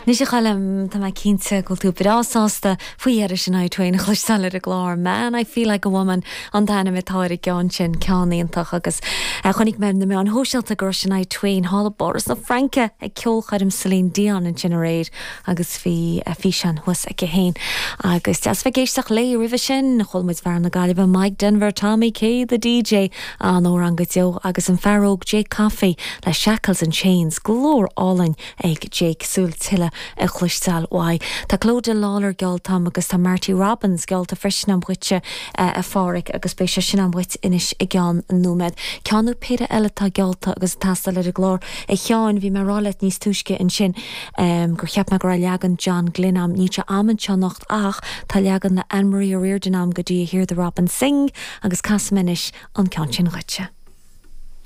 Anois a Choilm, tá mé cinnte go bhfuil tú breá sásta faoi dheireadh Shania Twain a chloisteáil ar an gclár. Man, I Feel Like a Woman an t-ainm atá ar an gceann sin, ceann iontach agus chonaic mé ar na meáin shóisialta go raibh Shania Twain thall i bPáras na Fraince ag ceolchoirm Celine Dion ansin aréir agus bhí físeán thuas aici féin agus deas bheith ag éisteacht léi roimhe sin. Chuala muid fear na Gaillimhe Mike Denver, Tommy K the DJ, an-amhrán go deo agus an fear óg Jake Coffey le Shackles and Chains, glór álainn ag Jake súil tuilleadh a chloisteáil uaidh. Tá Clodagh Lawlor geallta a'm agus tá Marty Robbins geallta freisin a'm dhuitse, a Pháraic, agus beidh sé sin a'm dhuit anois i gceann nóiméad. Ceann nó péire eile atá geallta agus ag teastáil ar an gclár. A Sheáin, bhí mé ag rá leat níos túisce ansin gur cheap mé go raibh leagan John Glynn a'm. Níl sé a'm anseo anocht ach tá leagan le Anne Marie O'Riordan a'm go dtí I Hear the Robin Sing agus casfaidh mé anois an ceann sin dhuitse.